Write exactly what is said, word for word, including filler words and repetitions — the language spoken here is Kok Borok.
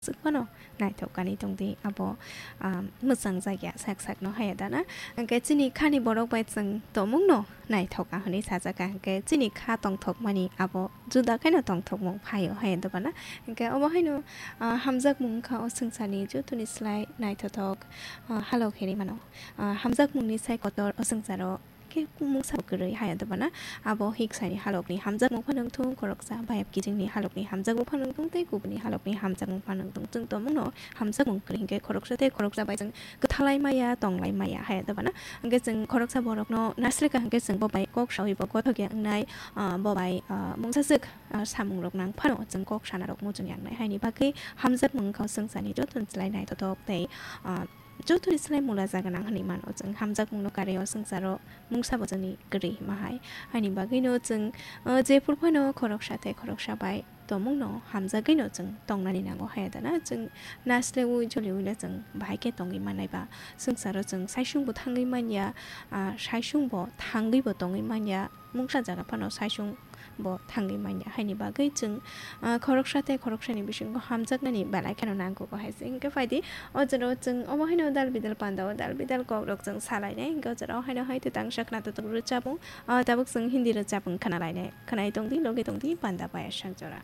swk phano naithok kanwi tongdi, abo, ah, mwchang jakya sak sakno haya dana. Hwnkhe chini khani borok bai chwng tongmungno naithok ka hwnwi sajak ka, hwnkhe chini kha tongthokmani abo juda khaino tongthokmung phaio haya dobana. Hwnkhe obo haino, ah, hamjakmung wngkha o swngcharni jotoni slai naithothok, ah, halok hinwi mano. Ah, hamjakmungni sai kotor o swngcharo khe mungsa bo kwrwi haya dobana. Abo hiksani halokni hamjakmung phano wngthung, khoroksa bayap kijingni halokni hamjakmung phano wngthung, tei kubuni halokni hamjakmung phano wngthung. Chwng tongmungno hamjakmung kwrwi hinkhe khoroksa tei khoroksa bai chwng kwthalai maya, tonglai maya haya dobana. Hwnkhe chwng khoroksa borokno nasrika hwnkhe chwng bo bai kok sawi bo gothok ya wngnai, ah, bo bai, ah, mungsa swk, ah, samungrok nang phano chwng kok sanarok muchung ya wngnai. Haini bagwi hamjakmung wngkha o swngcharni jotoni slai naithothok tei, ah, jotoni slai mula jaga nang hwnwi mano chwng. Hamjakmungno karwi o swngcharo mungsa bo chwngni kwrwi hima hai. Haini bagwino chwng, ah, jephuru phano khoroksa tei khoroksa bai tongmungno hamjagwino chwng tongnani nango haya dana. Chwng nasleui joliuino chwng bahai khe tongwi mannai ba swngcharo chwng saisung bo thangwi manya, ah, saisung bo thangwi bo tongwi manya, mungsa jaga phano saisung bo thangwi manya. Haini bagwi chwng, ah, khoroksa tei khoroksani bisingo hamjaknani belai kheno nangkukgo hai se. Hinkhe phaidi, o jorao chwng omo haino dal bidal panda o dal bidal kokrok chwng salainai. Hinkhe o jorao haino hai twtang sakna twtwk rwchapung, ah, tabuk chwng Hindi rwchapung khwnalainai. Khwnai tongdi, logi tongdi, panda paya sak jora.